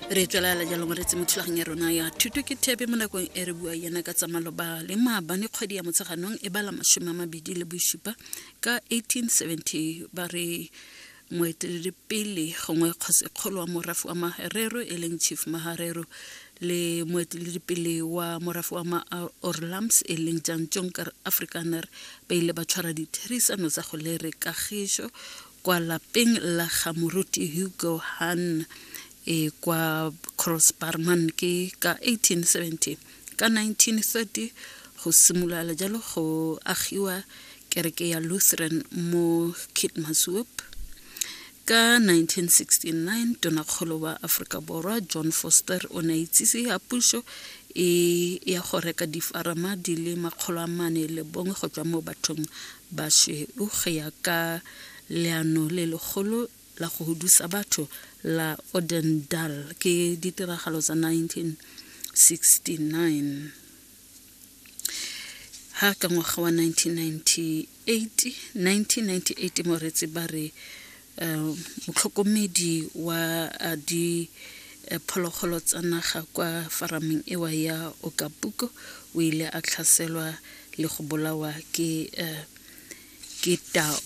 Re tswelela jalo mo retse mo thulaganyo ya rona ya thuto ke thebe mo nakong e re bua yana ka tsa maloba le maabane kgwedi ya Motsheganong e bala 27 ka 1870. Ba re moeteledipele gongwe kgosikgolo wa morafe wa Maherero e leng Chief Maharero le moeteledipele wa morafe wa Ma-Orlams e leng Jan Jonker Afrikaner ba ile ba tshwara ditherisano tsa go lere kagišo kwa lapeng la ga moruti Hugo Hahn e kwa Crossbarman ke ka 1870. Ka 1930 go simolola jalo go agiwa kereke ya Lutheran mo Keetmanshoop. Ka 1969 tonakgolo wa Aforika Borwa John Foster o ne a itsise ya puso e ya go reka difarama di le 401 go tswa mo bathong ba sweu go ya ka leano le legolo la go hudusa batho la Odendal ke ditiragalo tsa 1969. Ha ka ngwaga wa 1998 1998 moretsi ba re motlhokomedi wa di phologolo tsa naga kwa farameng ewa ya Okapuko o ile a tlhaselwa le go bolawa ke ke tau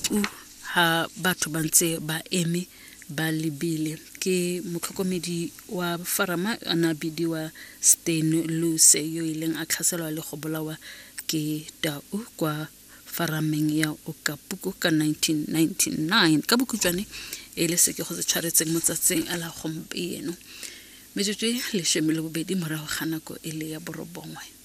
ha batho ba ntse ba eme ba lebile. Ke motlhokomedi wa farama a ne a bidiwa Stan Luse yo ileng a tlhaselwa le go bolawa ke tau kwa farameng ya Okapuko ka 1999. Ka bokhutshwane e le se ke go se tshwaretseng mo tsatsing a la gompieno, metsotso e 12 morago ga nako e le ya 9.